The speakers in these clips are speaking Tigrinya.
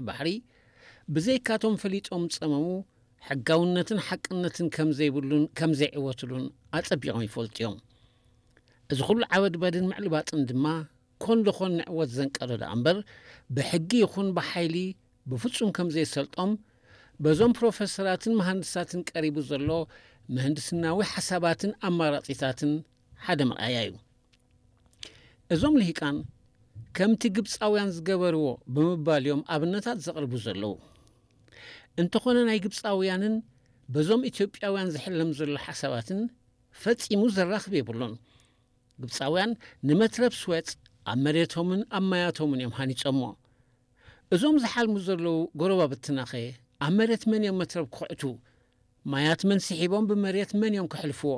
ባሕሪ ብዘይካቶም ፈሊጦም ዝጸመሙ ሕጋውነትን ሓቅነትን ከም ዘይብሉን ከም ዘይዕወትሉን ኣጸቢቖም ይፈልጡ እዮም። እዚ ኩሉ ዓበድባድን ምዕልባጥን ድማ ኮን ደኾን ንዕወት ዘንቀዶ ደኣ እምበር ብሕጊ ይኹን ብሓይሊ ብፍጹም ከም ዘይሰልጦም በዞም ፕሮፌሰራትን መሃንድሳትን ቀሪቡ ዘሎ ምህንድስናዊ ሓሳባትን ኣማራጺታትን ሓደ መርኣያ እዩ። እዞም ልሂቃን ከምቲ ግብጻውያን ዝገበርዎ ብምባል እዮም ኣብነታት ዘቕርቡ ዘለዉ። እንተኾነ ናይ ግብጻውያንን በዞም ኢትዮጵያውያን ዝሕለም ዘሎ ሓሳባትን ፈጺሙ ዘራኽብ የብሉን። ግብጻውያን ንመትረብ ስዌጽ ኣብ መሬቶምን ኣብ ማያቶምን እዮም ሃኒጾሞ። እዞም ዝሓልሙ ዘለዉ ጎረባብትናኸ ኣብ መሬት መን እዮም መትረብ ክኹዕቱ? ማያት መን ስሒቦም ብመሬት መን እዮም ከሕልፍዎ?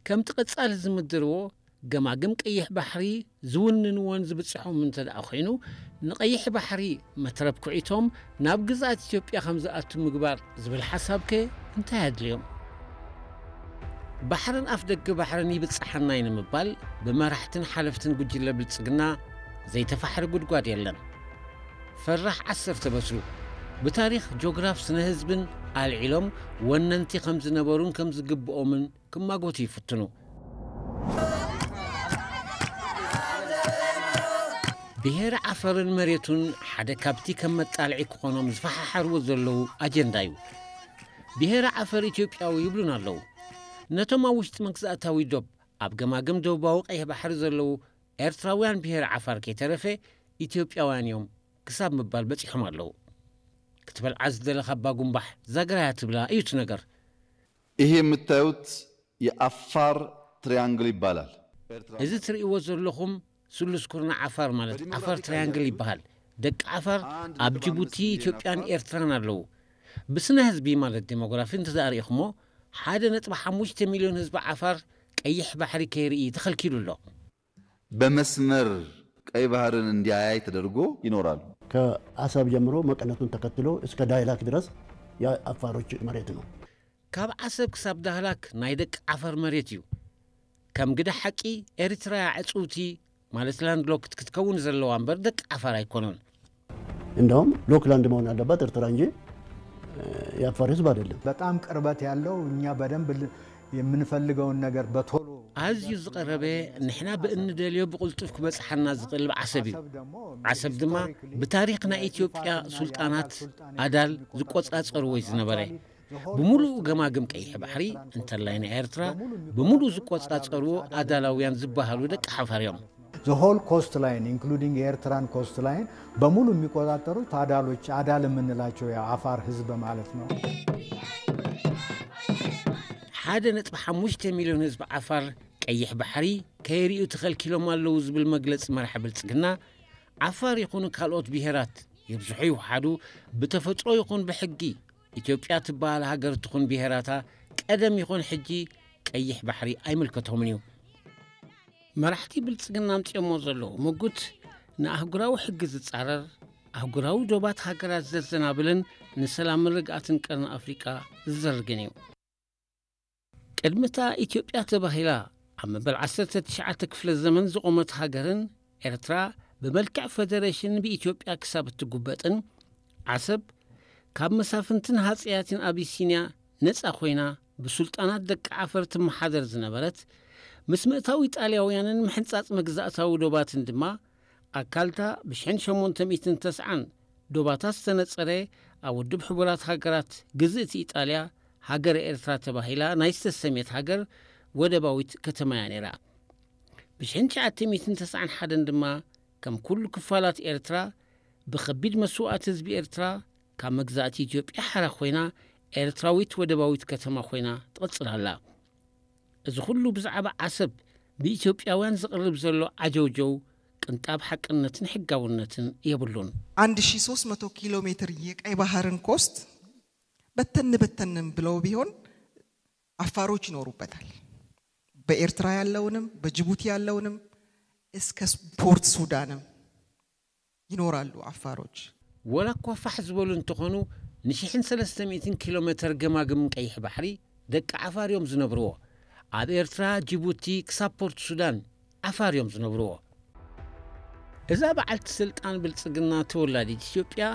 ከምቲ ቀጻሊ ዝምድርዎ ገማግም ቀይሕ ባሕሪ ዝውንንዎን ዝብጽሖም እንተ ደኣ ኮይኑ ንቐይሕ ባሕሪ መትረብ ኩዒቶም ናብ ግዝኣት ኢትዮጵያ ከም ዝኣቱ ምግባር ዝብል ሓሳብከ እንታይ ኣድልዮም? ባሕርን ኣፍ ደገ ባሕርን ይብጽሓና እዩ ንምባል ብመራሕትን ሓለፍትን ጉጅለ ብልጽግና ዘይተፋሕረ ጉድጓድ የለን። ፈራሕ ዓሰርተ በትሩ ብታሪኽ ጆግራፍ ስነ ህዝብን ኣልዒሎም ወነንቲ ከም ዝነበሩን ከም ዝግብኦምን ክማጎቱ ይፍትኑ። ብሄረ ዓፈርን መሬቱን ሓደ ካብቲ ከም መጣልዒ ክኾኖም ዝፈሓሓርዎ ዘለዉ ኣጀንዳ እዩ። ብሄረ ዓፈር ኢትዮጵያዊ ይብሉን ኣለዉ። ነቶም ኣብ ውሽጢ መግዛእታዊ ዶብ ኣብ ገማግም ደቡባዊ ቀይሕ ባሕሪ ዘለዉ ኤርትራውያን ብሄረ ዓፋር ከይተረፈ ኢትዮጵያውያን እዮም ክሳብ ምባል በጺሖም ኣለዉ። ክትበልዓ ዝደለኻ ኣባ ጉንባሕ ዛግራያ ትብላ እዩ እቲ ነገር። ይሄ የምታዩት የአፋር ትሪያንግል ይባላል። እዚ ትርእይዎ ዘለኹም ስሉስ ኩርናዕ ዓፋር ማለት ዓፋር ትሪያንግል ይበሃል። ደቂ ዓፋር ኣብ ጅቡቲ፣ ኢትዮጵያን ኤርትራን ኣለዉ። ብስነ ህዝቢ ማለት ዴሞግራፊ እንተዘኣርኢኹሞ ሓደ ነጥቢ ሓሙሽተ ሚልዮን ህዝቢ ዓፋር ቀይሕ ባሕሪ ከይርኢ ተኸልኪሉ ኣሎ። በመስመር ቀይ ባህርን እንዲያያይ ተደርጎ ይኖራሉ። ከአሰብ ጀምሮ መቀነቱን ተከትሎ እስከ ዳይላክ ድረስ የአፋሮች መሬት ነው። ካብ ዓሰብ ክሳብ ዳህላክ ናይ ደቂ ዓፈር መሬት እዩ። ከም ግደ ሓቂ ኤሪትራ እያ ዕጽውቲ ማለት ላንድሎክድ ክትከውን ዘለዋ እምበር ደቂ ዓፋር ኣይኮኑን። እንደውም ሎክላንድ መሆን ያለባት ኤርትራ እንጂ የአፋር ህዝብ አይደለም። በጣም ቅርበት ያለው እኛ በደንብ የምንፈልገውን ነገር በቶሎ ኣዝዩ ዝቐረበ ንሕና ብእንደልዮ ብቕልጡፍ ክበጽሓና ዝኽእል ዓሰብ እዩ። ዓሰብ ድማ ብታሪኽ ናይ ኢትዮጵያ ሱልጣናት ኣዳል ዝቆጻጸርዎ እዩ ዝነበረ። ብምሉኡ ገማግም ቀይሕ ባሕሪ እንተላይ ናይ ኤርትራ ብምሉኡ ዝቆጻጸርዎ ኣዳላውያን ዝበሃሉ ደቂ ሓፋር እዮም። The whole coast line including የኤርትራን coast line በሙሉ የሚቆጣጠሩት አዳሎች አዳል የምንላቸው የአፋር ህዝብ ማለት ነው። ሓደ ነጥቢ ሓሙሽተ ሚልዮን ህዝቢ ዓፋር ቀይሕ ባሕሪ ከይርእዩ ተኸልኪሎም ኣለዉ ዝብል መግለጺ መራሒ ብልጽግና ዓፋር ይኹኑ ካልኦት ብሄራት ይብዝሑ ይውሓዱ ብተፈጥሮ ይኹን ብሕጊ ኢትዮጵያ ትበሃል ሃገር ትኹን ብሄራታ ቀደም ይኹን ሕጂ ቀይሕ ባሕሪ ኣይምልከቶምን እዩ። መራሕቲ ብልጽግና ኣምጺኦሞ ዘለዉ ምጉት ንኣህጉራዊ ሕጊ ዝጻረር ኣህጉራዊ ዶባት ሃገራት ዘዘናብልን ንሰላምን ርግኣትን ቀርኒ ኣፍሪቃ ዝዘርግን እዩ። ቅድሚ እታ ኢትዮጵያ ተባሂላ ኣብ መበል ዓሰርተ ትሽዓተ ክፍለ ዘመን ዝቖመት ሃገርን ኤርትራ ብመልክዕ ፈደረሽን ብኢትዮጵያ ክሳብ እትጉበጥን ዓሰብ ካብ መሳፍንትን ሃጸያትን ኣቢሲንያ ነጻ ኮይና ብሱልጣናት ደቂ ዓፈር ትመሓደር ዝነበረት ምስ ምእታው ኢጣልያውያንን ምሕንጻጽ መግዛእታዊ ዶባትን ድማ ኣካልታ ብሽሕን ሸሞንተ ሚእትን ተስዓን ዶባታ ዝተነጸረ ኣብ ውድብ ሕቡራት ሃገራት ግዝእቲ ኢጣልያ ሃገረ ኤርትራ ተባሂላ ናይ ዝተሰምየት ሃገር ወደባዊት ከተማ እያ ነይራ። ብሽሕን ትሽዓተ ሚእትን ተስዓን ሓደን ድማ ከም ኩሉ ክፋላት ኤርትራ ብኸቢድ መስዋእቲ ህዝቢ ኤርትራ ካብ መግዛእቲ ኢትዮጵያ ሓራ ኮይና ኤርትራዊት ወደባዊት ከተማ ኮይና ትቕጽል ኣላ። እዚ ኩሉ ብዛዕባ ዓሰብ ብኢትዮጵያውያን ዝቕርብ ዘሎ ዓጀውጀው ቅንጣብ ሓቅነትን ሕጋውነትን የብሉን። አንድ ሺ ሶስት መቶ ኪሎ ሜትር የቀይ ባህርን ኮስት በተን በተንም ብለው ቢሆን አፋሮች ይኖሩበታል። በኤርትራ ያለውንም በጅቡቲ ያለውንም እስከ ፖርት ሱዳንም ይኖራሉ አፋሮች። ወላ እኳ ፋሕ ዝበሉ እንተኾኑ ንሽሕን ሰለስተ ሚእትን ኪሎ ሜትር ገማግም ቀይሕ ባሕሪ ደቂ ዓፋር እዮም ዝነብርዎ። ኣብ ኤርትራ፣ ጅቡቲ ክሳብ ፖርት ሱዳን ዓፋር እዮም ዝነብርዎ። እዛ በዓልቲ ስልጣን ብልጽግና ተወላዲት ኢትዮጵያ